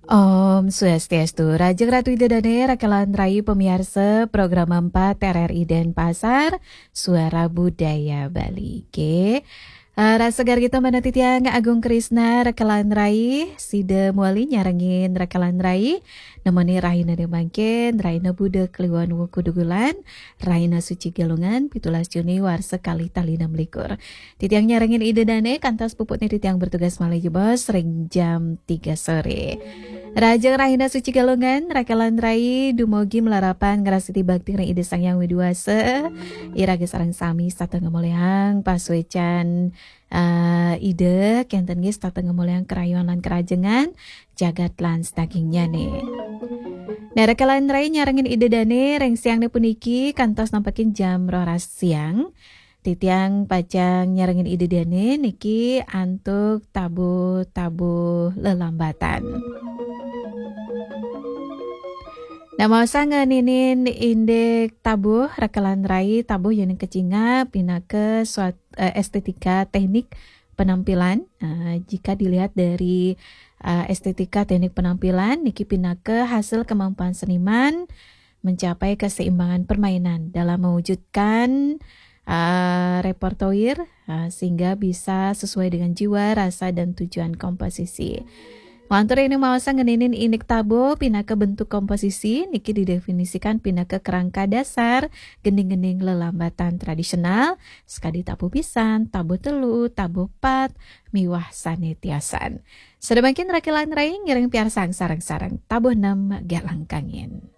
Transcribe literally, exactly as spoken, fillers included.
Om Swastiastu, Rajeng Ratu Ida Dane, Raka lan Rai, pamiarsa Program empat R R I Denpasar, Suara Budaya Bali. Oke. Eh, rasa gargita manah titiang Agung Krisna, Raka lan Rai, sida muali nyarengin Raka lan Rai, nemoni rahina mangkin, rahina Buda Kliwon Wuku Dugulan, rahina suci Galungan, pitulas Juni warsa kalih tali enam likur. Titiang nyarengin Ida Dane, kantos puputne titiang bertugas malih jebos ring jam tiga sore. Rajeng rahina suci Galungan, Raka lan Rai, dumugi malarapan ngrastiti bakti ring Ida Sang Hyang Widi Wasa. Iraga sareng sami setata ngamolihang pasuecan, eh, Ida, kenten nggih setata ngamolihang karayuan lan karajengan, jagat lan sadagingnyane. Nah, Raka lan Rai, nyarengin Ida Dane ring siangne puniki kantos nempakin jam roras siang. Titiang pacang nyarengin Ida Dane niki antuk tabuh-tabuh lelambatan. Nah, maosang ngeninin indik tabuh, Raka lan Rai, tabuh yen kacingap pinaka suat-, eh, estetika teknik penampilan. Eh, jika dilihat dari, eh, estetika teknik penampilan, niki pinaka hasil kemampuan seniman mencapai keseimbangan permainan dalam mewujudkan, eh, repertoire, eh, sehingga bisa sesuai dengan jiwa, rasa, dan tujuan komposisi. Lantur ring maosang ngeninin indik tabuh pinaka bentuk komposisi, niki didefinisikan pinaka kerangka dasar gending-gending lelambatan tradisional, sakadi tabuh pisan, tabuh telu, tabuh pat, miwah sane tiosan. Sada mangkin Raka lan Rai ngiring piarsang sareng-sareng tabuh nem Galang Kangin.